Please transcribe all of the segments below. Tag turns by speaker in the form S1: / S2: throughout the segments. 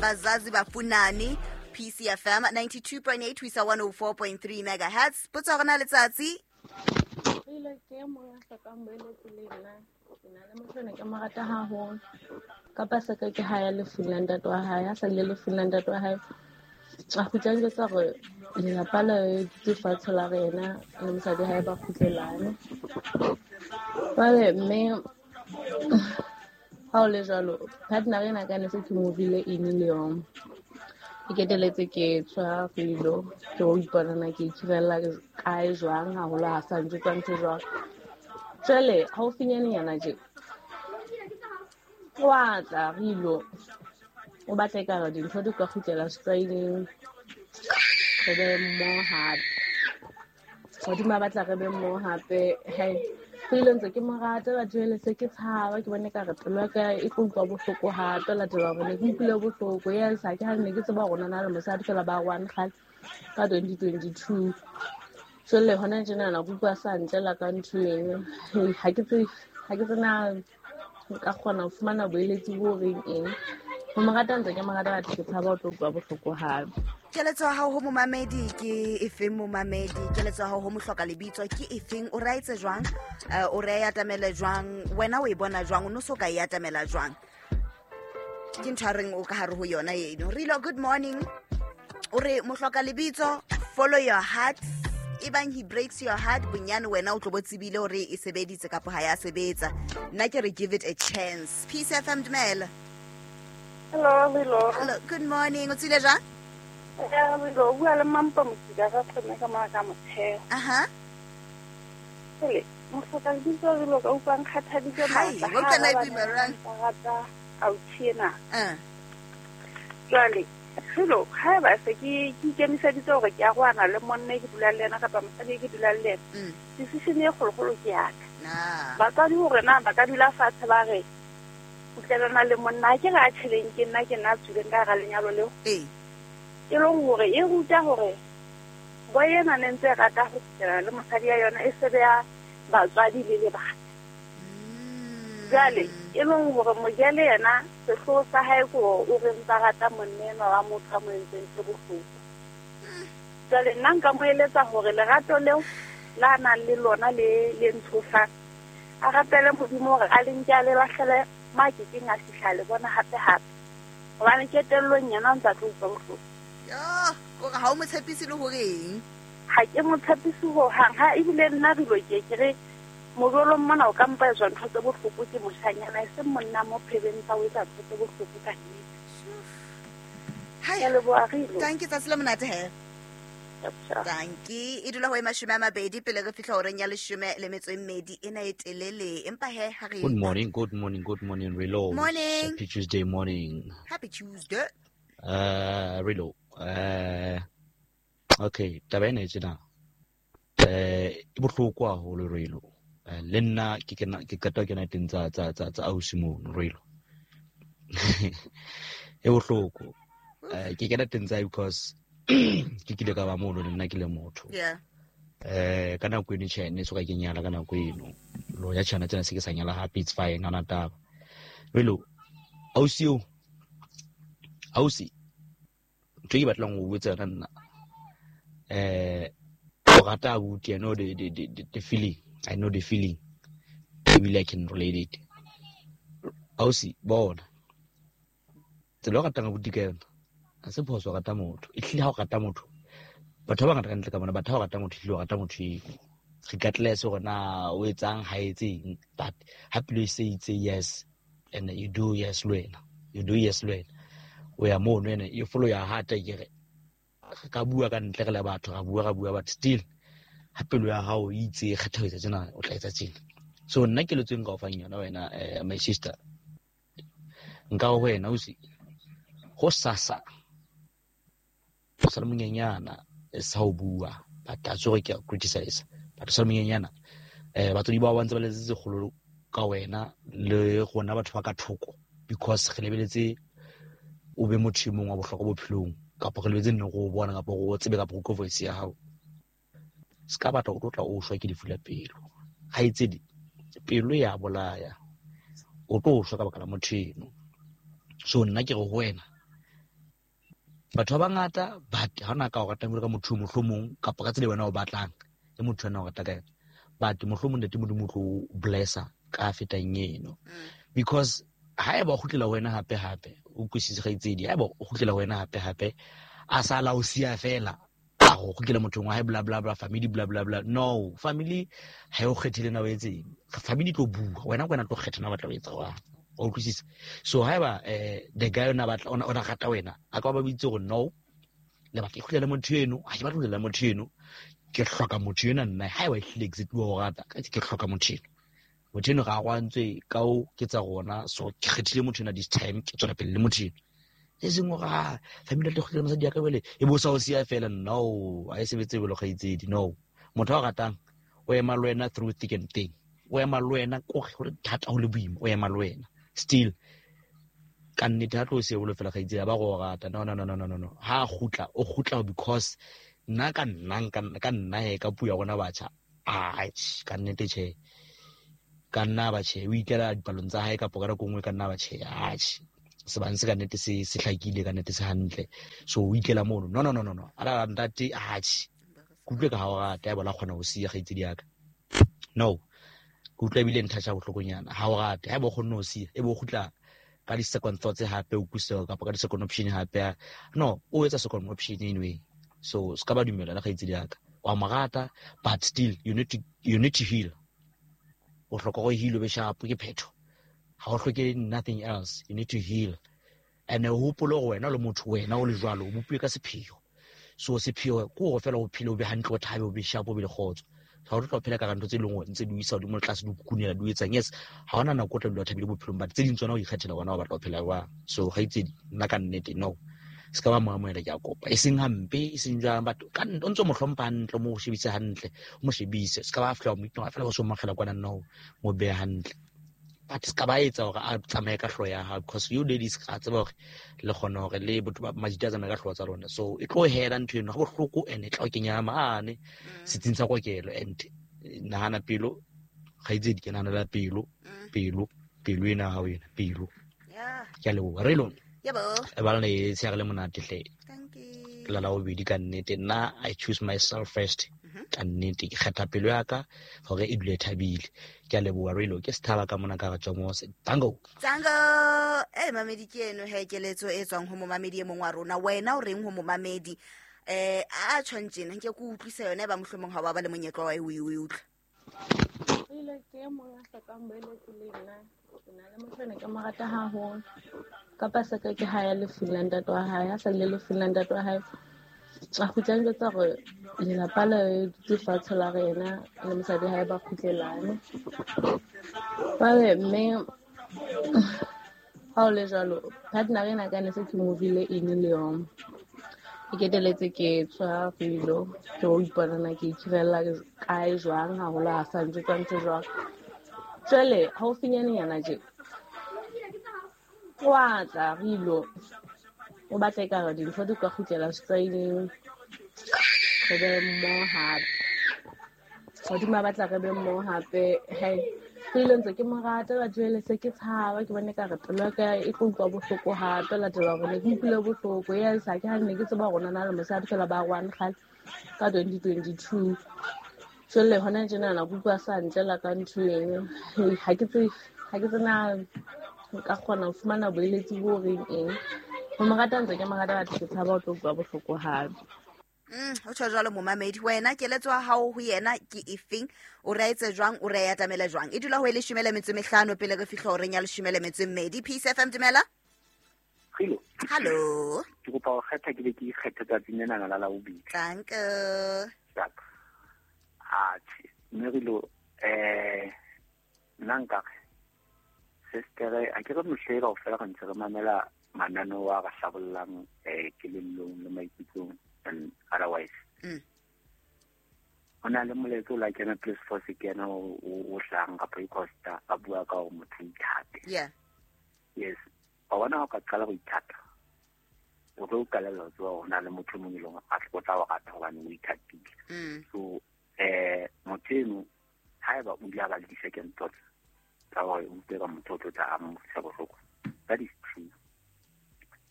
S1: Abazazi Bafunani, PCFM 92.8 ho isa 104.3 megahertz. Potso ya rona letsatsi.
S2: Ile ke mong a hlokang boeletsi le nna. Ke na le motho ena ke mo rata haholo. Ka paseka ke ha ya lefung la ntate wa hae, a sa ile lefung la ntate wa hae. A kgutla njwetsa hore lelapa le dutse fatshe la rena le mosadi hae ba kgutlelane. Jwale mme ha o le jwalo, partner ena ka ne se ke movile in le yona. Ke keteletse ke tswa Rilo, ke o ipona na ke ikhirella kae jwang haholo ha sa njwetsa ntho jwang. Jwale haufinyanenyana tje wa tla Rilo, o batla ekare dintho di ka kgutlela setlwaeding, re be mmoho hape. Hodima batla re be mmoho hape. Hei, Rilo ntse ke mo rata batho jwale se ke tshaba, ke bone ekare pelo ya ka e tlo utlwa bohloko hape, latela hore ne ke utlwile bohloko. Yes, ha ke ha ne ke tseba hore o na le mosadi fela ba one kgale ka 2022. Jwale hona tjenana ke utlwa sa ntlela ka ntho eng. Ha ke tsebe, ha ke tsena nka kgona ho fumana boeletsi bo reng eng. Ho mo rata ntse ke mo rata, batho ke tshaba ho tlo utlwa bohloko hape.
S1: Keletso ya hao ho momamedi ke efeng momamedi? Keletso ya hao ho mohloka lebitso ke efeng? O re a etse jwang? O re a atamele jwang? Wena o e bona jwang? O no so ka e atamela jwang? Ke ntho a reng o ka hare ho yona eno. Rilo, good morning. O re mohloka lebitso, follow your heart. Ebang he breaks your heart, bonyane wena o tlo bo tsebile hore e sebeditse kapa ha ya sebetsa. Nna ke re give it a chance. Peace FM, dumela.
S3: Hello, hello.
S1: Hello, good morning. O tsile jwang?
S3: Hello, o bua le Mampa Motsika ka kgone ka mona ka motheo.
S1: Aha.
S3: Hele, mohloka lebitso re lo ka utlwang kgathaditse
S1: Hai,
S3: matla.
S1: wa utlwa
S3: Ha
S1: na e
S3: ba
S1: boima jwang?
S3: ba rata ausi ena.
S1: Ah.
S3: Jwale, hello, ha eba se ke ikemiseditse hore ke arohana le monna e ke dulang le yena kapa mosadi e ke dulang le yena. Decision e kgolokgolo ke ya ka.
S1: Na.
S3: Batswadi hore na ba ka dula fatshe ba re kgutlelana le monna, ha ke re a tjheleng ke nna ke nna a tswileng ka hara lenyalo leo.
S1: Ee.
S3: E leng hore e ruta hore boy ena ne ntse e rata ho kgutlela le mosadi ya yona e sebe ya batswadi le lebaka. Jwale e leng hore mojele yena sehlooho sa hae ke hore o re ntsa rata monna enwa wa motho a mo entseng tse bohloko. Jwale nna nka mo eletsa hore lerato leo la nang le lona le ntshosang, a rapele Modimo hore a le nke a le lahlele mo a kekeng a fihla le bona hape hape. Hobane qetellong yena o ntsa tlo utlwa bohloko.
S1: Yo, kore ha o mo tshepise le hore eng?
S3: Ha ke mo tshepise hohang. Ha ebile nna re lo ke ke re mojolong mona o ka mpa etswa ntho tse bohloko ke moshanyana, e seng monna mo phebeng tsa ho etsa ntho tse bohloko ka nnete.
S1: Hai.
S3: Ke a leboha, Rilo.
S1: Tanki, tsatsi le monate he.
S3: Tjau.
S1: Tanki, e dula ho e 20 pele re fihla horeng ya 12 ena e telele. Empa he, ha re
S4: Good morning, good morning, good morning, Rilo.
S1: Morning.
S4: Happy Tuesday morning.
S1: Happy Tuesday.
S4: Rilo. Okay, taba ena e tjena. E bohloko haholo, Rilo. Le nna ke kena, ke qeta ho kena teng tsa ausi mono, Rilo. E bohloko. Ke kena teng tsa because ke kile ka ba mono le nna ke le motho.
S1: Yeah.
S4: Ka nako eno tjhe, ne soka ke nyala ka nako eno. Lo ya tjhana tsena se ke sa nyala hape, it's fine, ha hona taba. Rilo, ausi eo, ausi, ntho e ke batlang ho botsa yona nna. O rata abuti, I know the feeling. I know the feeling. Ebile I can relate it. Ausi, bona. Tsela o ratang abuti ka yona, ha se phoso ho rata motho. Ehlile ha o rata motho, batho ba bangata ka ntle ka mona, batho ha o rata motho, ehlile o rata motho eo. Regardless hore na o etsang, ha etseng, but ha pelo e se itse yes, and you do yes le wena. You do yes le wena. O ya mono ene, you follow your heart, ke re, re ka bua ka ntle re le batho, ra bua, ra bua, but still, ha pelo ya hao e itse e kgetha ho etsa tjena, o tla etsa tjena. So nna keletso e nka o fang yona wena, my sister, nka ho wena, ausi, ho sasa, o sa le monyenyana, e sa ho bua, but a tsore ke a criticize, but o sa le monyenyana, batswadi bao ba ntse ba letsetse kgolo ka wena le rona batho ba ka thoko, because re lebeletse o be motho e mong wa bohlokwa bophelong, kapa re lebeletse nne go o bona, kapa go o tsebe, kapa go utlwe voice ya hao. Se ka batla o tlo tla o shwa ke lefu la pelo. Kgaitsedi, pelo ya bolaya. O tlo shwa ka baka la motho eno. So nna ke re ho wena, Batho ba bangata, but ha ona ka o ratang jwalo ka motho mohlomong kapa ka tsela wena o batlang le motho ena o rata ka yona. But mohlomong ntate Modimo o tlo blessa ka fetang eno. Because haeba o kgutlela ho wena hape hape, o utlwisise kgaitsedi, haeba o kgutlela ho wena hape hape, a sa la o siya fela, a go kgutlela mothong wa hae, bla bla bla, family bla bla bla. No, family ha e o kgethele na o etseng. Family tlo bua, wena ke wena tlo kgetha na o batla ho etsa jwang. Wa utlwisisa? So haeba the guy o na batla, o na rata wena, a ka ba bitse hore no, le batla ke kgutlele motho eno, ha ke batle ho kgutlela motho eno, ke hloka motho ena nna. Haeba ehlile exactly wa o rata, ke hloka motho eno. Motho eno ga a gwantswe ka o ke tsa rona, so ke kgethile motho ena this time, ke tswela pele le motho eno. E seng hore, ah, family ya tlo kgutlela mosadi ya ka jwale, e bo sa o siya fela. No, ha e sebetse jwalo kgaitsedi. No, motho a o ratang o ema le wena through thick and thin, o ema le wena kore ho le thata ho le boima, o ema le wena still. Ka nnete ha tlo o siya jwalo fela kgaitsedi, ha ba go o rata. No, no, no, no, no, no, no. Ha a kgutla, o kgutla because nna ka nna, ka nna he, ka puo ya rona batjha, atjhe, ka nnete tjhe, ka nna ba tjhe, o ikela dipalong tsa hae kapa ka nako nngwe ka nna ba tjhe, atjhe, sebang se ka nnete se hlakile, ka nnete se hantle, so o ikela mono. No, no, no, no, no. A ntate, atjhe, ke utlwe ka ha o rata, ya bona kgona ho siya kgaitsedi ya ka. No, ke utlwa ebile nthatjha bohlokonyana. Ha o rate, ha eba o kgonne ho siya, ebe o kgutla ka di-second thoughts hape, o utlwisise kapa ka di-second option hape. No, o etsa second option anyway. So se ka ba dumela le kgaitsedi ya ka. Wa mo rata, but still you need to heal. O hloka go heal, o be sharp, ke phetho. Ha o hloke nothing else, you need to heal. And o hopole hore wena le motho, wena o le jwalo, o bopilwe ka sepheo. So sepheo ke hore fela o phele, o be hantle, o thabe, o be sharp, o be le kgotso. Ha o tlo phela ka ntho tse leng hore ntse di o isa hodimo le tlase, di o kukunela, di o etsang. Yes, ha hona nako o tla dula o thabile bophelong, but tse ding tsona o ikgethela wena o batla ho phela jwang. So kgaitsedi, nna ka nnete, no, se ka ba mo amohela, ke a kopa. E seng hampe, e seng jwang, but ka nnete, o ntso mo hlompha hantle, o mo shebise hantle, o mo shebise. Se ka ba fihla o mo itlwa fela o so mo akgela kwana, no, mo behe hantle. But se ka ba etsa hore a tsamaye ka hlooho ya hao, because you ladies ga tseba hore le kgona hore le botho ba majita a tsamaye ka hlooho tsa lona. So e tlo hela ntho eno, ha bohloko, and e tla o kenya mane setsing sa kokelo. And nahana pelo, kgaitsedi, ke nahanela pelo, pelo, pelo ena ya hao ena, pelo. Ke a leboha. Re lona. E ba le tsheare le monate hle.
S1: Thank you.
S4: Ke la bobedi ka nnete. Nna I choose myself first. Ka nnete ke kgetha pelo ya ka hore e dule e thabile. Ke a leboha Relo, ke sethaba ka mona ka re Tjomose. Tango.
S1: Tango. Mamedi ke eno he, keletso e tswang ho momamedi e mong wa rona. Wena o reng ho momamedi? A tjhong tjena, nke ke utlwise yona e ba mohlomong ha wa ba le monyetla wa e o e utlwa.
S2: Ile ke e mong a hlokang boeletsi le nna. Ke na le motho ene ke mo rata haholo. Ka paseka ke ha ya lefung la ntate wa hae, ha sa le lefung la ntate wa hae, a kgutla a njwetsa hore lelapa le dutse fatshe la re yena le mosadi hae ba kgutlelane. Jwale mme ha o le jwalo, partner ena ka ne se ke movile in le yona. Ke keteletse ke tswa pelo, ke o ipona na ke ikhirella kae jwang, haholo ha sa njwetsa ntho jwang. Jwale haufinyanenyana tje, wa tla re ilo, o batla ekare dintho di ka kgutlela setlwaeding, re be mmoho hape. Hodima batla re be mmoho hape, hei, re ile ntse ke mo rata, ba jwale se ke tshaba, ke bone ekare pelo ya ka e tlo utlwa bohloko hape, latela hore ne ke utlwile bohloko. Yes, ha ke ha ne ke tseba hore o na le mosadi fela ba one kgale ka 2022. Jwale hona tjenana ke utlwa sa ntlela ka ntho eng. Hei, ha ke tsebe, ha ke tsena nka kgona ho fumana boeletsi bo reng eng. Ho mo rata ntse ke mo rata, batho ke tshaba ho tlo utlwa bohloko hape.
S1: Ho tjho jwalo momamedi, wena keletso ya hao ho yena ke efeng? O re etse jwang? O re atamele jwang? E dula ho e 15 pele re fihla horeng ya 12. Peace FM, dumela.
S5: Hello.
S1: Hello.
S5: Ke kopa ho kgetha, ke be ke ikgethe tsatsing lena la Labobedi.
S1: Thank you.
S5: Sharp. Atjhe, mme re lo, nna nka re, sister, a ke re mohle kaofela re ntse re mamela mananeo a re hlabollang, kelellong le maikutlong and otherwise. Ho na le molaetsa o la kena Police Force ke yena o hlahang kapa e Costa a bua ka hore motho o ithate. Yes. Wa bona ha o ka qala ho ithata, o tlo qalella ho tseba hore ho na le motho e mong e leng hore o tla o rata hobane o ithatile. So, motho eno, haeba o ile a ba le di-second thoughts tsa hore o utlwe ka motho o tlo tla a mo utlwisa bohloko, that is true.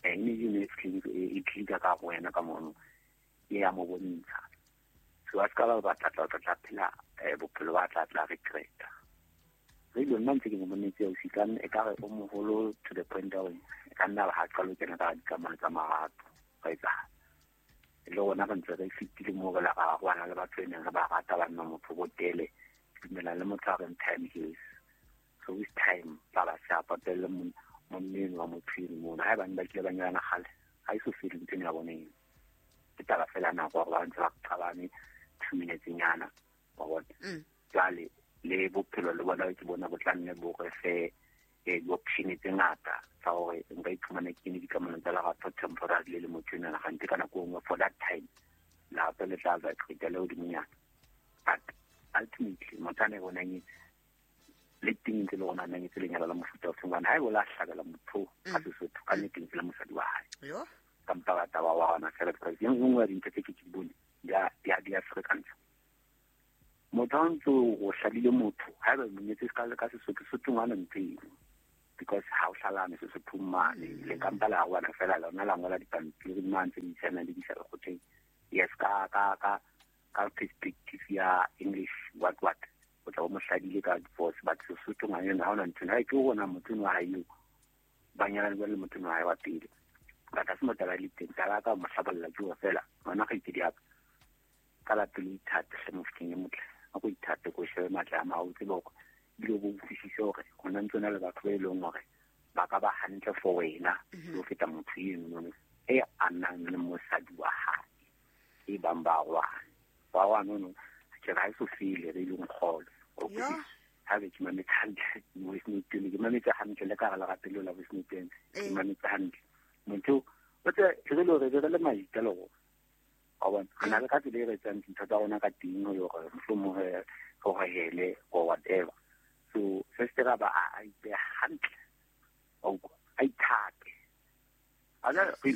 S5: Energy ne e tlika ka go wena ka mono e ya mo bontsha. So a ska ba tla tla phela bophelo ba tla tla regreta. Re lo nna ntse ke mo bonetse o sikang e ka re o moholo to the point of e ka nna ha qalo kena ka dikamano tsa marato ka etsa. Le rona re ntse re fitile mo re la ga go le batho ene re ba rata ba nna motho bo tele dumela le motho a reng time heals. So with time ba ba sa patelle monneng wa motho eno mona ha ba ne ba kile ba nyalana kgale ha iso fele ntho eno ya bone eno. Ke taba fela nako gore ba ntse ba qabane 2 minutes nyana wa bona. Jwale le bophelo le bona ke bona bo tla nne bo re fe di-option tse ngata tsa hore nka iphumana ke ne dikamano tsa lerato temporarily le motho enwana gante ka nako nngwe for that time lerato le tla vibrate le hodimonyana. But ultimately motho a ne bona nyetse le teng ntse le rona nyetse lenyalo la mofuta o feng hobane ha e bo la hlabela motho ka Sesotho ka nnete ntse le mosadi wa hae. Ka mpa ba taba wa hona fela because e nngwe ya dintho tse ke di bone di a ferekantsha. Motho a ntse o hladile motho ha eba monyetse ka Sesotho Sotho ngwana ntho eno because ha o hlalane Sesotho mane le ka mpa la rwana fela lona la ngola dipampiri mane tse di isana le di isa lekgotleng. Yes ka perspective ya English what o tla o mo hladile ka divorce but Sesotho ngwana ha ona ntho ha ke bona motho wa hae eo ba nyalane le motho wa hae wa pele. But ha se mo taba le teng taba ka mo hlabolla ke o fela ngwana ga itse di ka la pele ithate hle mofokeng e motle a go ithate ko shebe matla a mao tsebe hore ebile o bo utlwisise hore ho na ntse na le batho ba e leng hore ba ka ba hantle for wena le ho feta motho eno e a nang le mosadi wa hae e bang ba rwana ba rwana ono ke ra so fele re leng kgolo o ha be ke mametse hantle voice note ke mametse hantle le ka ga lerato leo la voice note ke mametse hantle motho o tse re le re le maita le go wa bona re na le ka tsela e re etsang dintho tsa rona ka teng le hore mohlomong re rohele or whatever. So se se ra ba a ipe hantle a ithate a na ke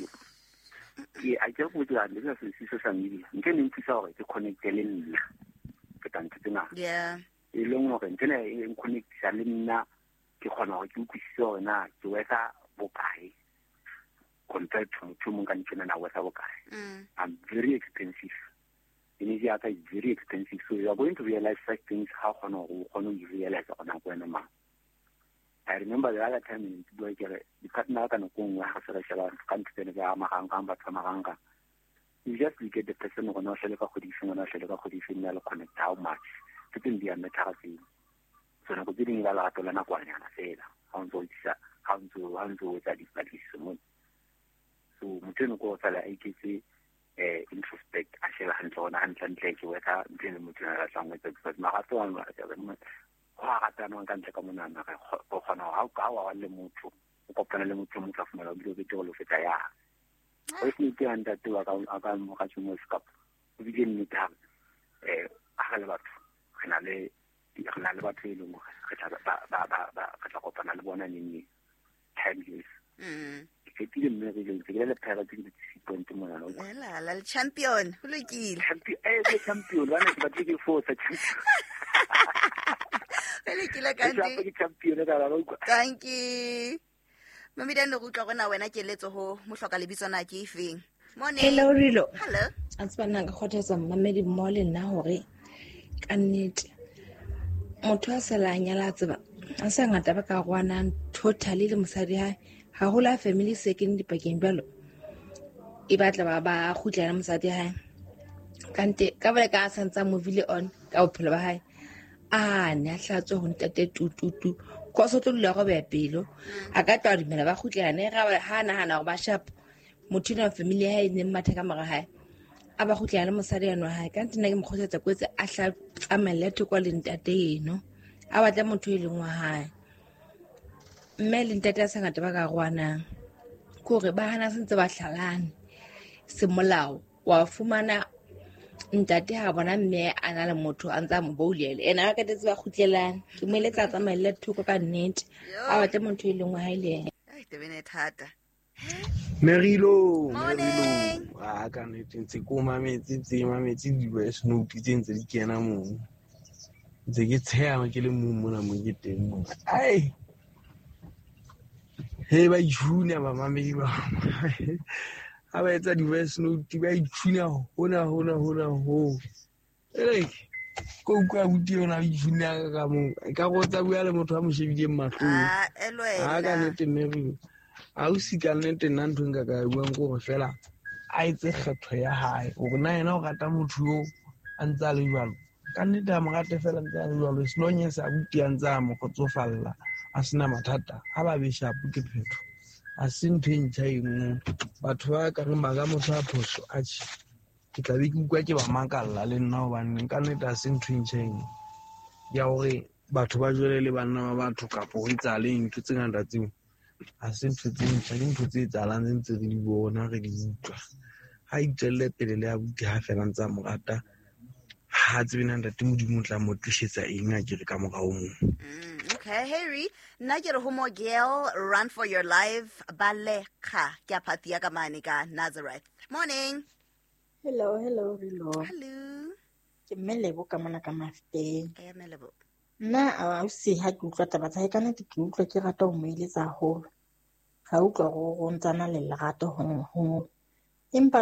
S5: a ke go dira le se se social media ntse ne nthusa hore ke connecte le nna ke tla ntho tsena e leng hore ntse ne e connectisa le nna ke kgona hore ke utlwisise hore na ke wetsa bokae compared to motho mong ka ntsena na wetsa bokae. I'm very expensive. Energy ya ka is very expensive. So you are going to realize such things how kgona hore o kgone ho realize hore nako wena mang. I remember the other time in bua ke re di-partner ka nako nngwe ha se re sheba ka ntho tsene tsa marangrang batho ba marangrang. You just look at the person hore na o hlele ka kgwedi efeng, wena o hlele ka kgwedi efeng, na le connect how much. Tse teng di a matter tseo. So nako tse ding e ba lerato la nakwanyana fela ha o ntso o itsisa ha o ntso o etsa dipatlisiso mona. So motho eno ko fela a iketse introspect a sheba hantle hona hantle hantle ke wetsa ntho eno motho a batlang ho etsa because marato a go a ratanwang ka ntle ka monana re kgona hore ha o le motho o kopana le motho motho a fumana o bile o bete go feta ya o se ke a ntate wa ka a ka mo ka tšhomo sekap o bile nnete ha ha le batho re na le batho e leng hore re tla ba re tla kopana le bona neng time is ke fetile mme re le ke le phela ke di point mona
S1: la la champion ho lokile
S5: champion ke champion bana ke batle ke force champion
S1: ho lokile ka
S5: ke champion ka la utlwa.
S1: Thank you Mamedi ne go utlwa gona wena keletso ho mohloka lebitso na ke efeng. Morning.
S6: Hello Rilo.
S1: Hello.
S6: A tseba nna nka kgothatsa mmamedi mmoho le nna hore ka nnete motho a sa la nyala tseba a sa ngata ba ka rwanang totally le mosadi hae haholo a family se kene dipakeng jwalo e batla ba kgutlela mosadi hae kante ka bole ka a santsa movile on ka bophelo ba hae a ne a hlatswe ho ntate tututu ko so tlo dula go beya pelo a ka tla dumela ba kgutlelane ga ha nahana hore ba sharp motho ena family ya hae e neng matha ka mora hae a ba kgutlela le mosadi eno hae ka nna ke mo kgothatsa kwetse a hla tsamaelle thoko le ntate eno a batla motho e leng wa hae mme le ntate a sa ngata ba ka rwanang ke hore ba hana sentse ba hlalane semolao wa fumana ntate ha bona mme a na le motho a ntse a mo boulele ena a katetse ba kgutlelane ke mo eletsa a tsamaelle thoko ka nnete a batle motho e leng wa hae le ena.
S1: Ai tebene thata.
S7: Merilo, Merilo. Ah, ka nnete ntse ko mametse tse mametse di-voice note tse ntse di kena moo. Ntse ke tsheha ke le mong mona mo ke teng mona. Ai. He ba ithunya bamamedi ba. Ha ba etsa di-voice note ba ithunya hona hona hona ho. Ele ko utlwa abuti yona a ithunya ka moo. E ka go tsa bua le motho a mo shebileng mahlong.
S1: Ah,
S7: Ha ka
S1: elwena.
S7: nnete Mary, ausi ka nnete nna ntho e nka ka e buang ke hore fela a etse kgetho ya hae hore na yena o rata motho yo a ntse a le jwalo. Ka nnete a mo rate fela ntse a le jwalo, as long as abuti a ntse a mo kgotsofalla, a sena mathata, ha ba be sharp ke phetho. Ha se ntho e ntjha eno. Batho ba ka reng ba ka motho a phoso, atjhe, ke tla be ke utlwa ke ba makalla le nna hobane ka nnete ha se ntho e ntjha eno ya hore batho ba jwele le banna ba batho kapo ho etsahale ntho tse ngata tseo. Ha se ntho tse ntjha, ke ntho tse etsahalang tse ntse re di bona, re di utlwa. Ha itswelle pele le abuti ha fela a ntse a mo rata, ha tsebe na ntate Modimo o tla mo tlisetsa eng akere ka morao moo.
S1: Okay, Harry, nna ke re ho Mogel, run for your life, balekga ke a phathi ya ka mane ka Nazareth. Morning.
S8: Hello, hello, hello.
S1: Hello.
S8: Ke mme Lebo ka mona ka Mafteng.
S1: Eh, mme Lebo.
S8: Nna ausi ha ke utlwa taba tsa hae ka nnete ke utlwa ke rata ho mo eletsa haholo. Ka utlwa hore o ntsana le lerato ho. Empa